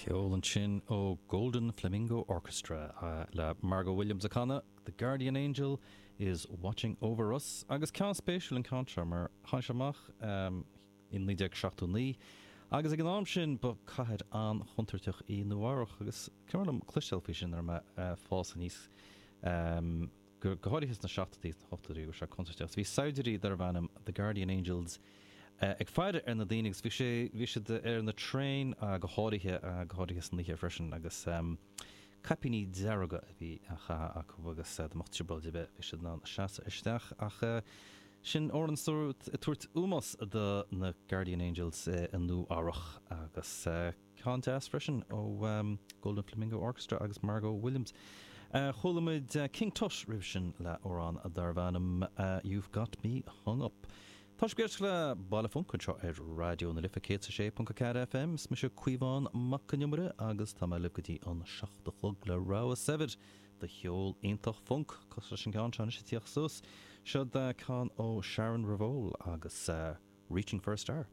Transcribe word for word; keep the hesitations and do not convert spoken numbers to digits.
Ceol ansin ó Golden Flamingo Orchestra le Margo Williams ag canadh The Guardian Angel is Watching Over Us agus ceann spéisiúil an ceann seo mar tháinig sé amach in naoi déag seachtó naoi agus ag an am sin ba cathair an-chontúirteach í Nua Eabhrac agus cuimhin liom cloisteáil faoi sin nuair a bhí mé ag fás aníos go go háirithe sna seachtóidí is na hochtóidí go raibh sé contúirteach. Bhí saighdiúirí darbh ainm The Guardian Angels ag faire ar na daoine agus bhí sé bhí siad ar na traein go háirithe go háirithe san oíche freisin agus caipíní dearga a bhí á chaitheamh acu agus dá mbeadh trioblóid ar bith bhí siad in ann seasamh isteach ach sin amhrán ag tabhairt ómós do na Guardian Angels i Nua Eabhrac agus ceann deas freisin ó Golden Flamingo Orchestra agus Margo Williams. Chuala muid King Tut roimh sin le amhrán darbh ainm You've Got Me Hung Up. Tá sibh ag éisteacht le Baile Func anseo ar Raidió na Life céad a sé ponc a ceathair FM. Is mise Caomhán Mac Con Iomaire agus tá mé libh go dtí an seacht a chlog le rogha saibhir de cheol iontach func cosúil leis an gceann seo anois ag tíocht suas. Seo ceann ó Sharon Ravol agus Reaching for a Star.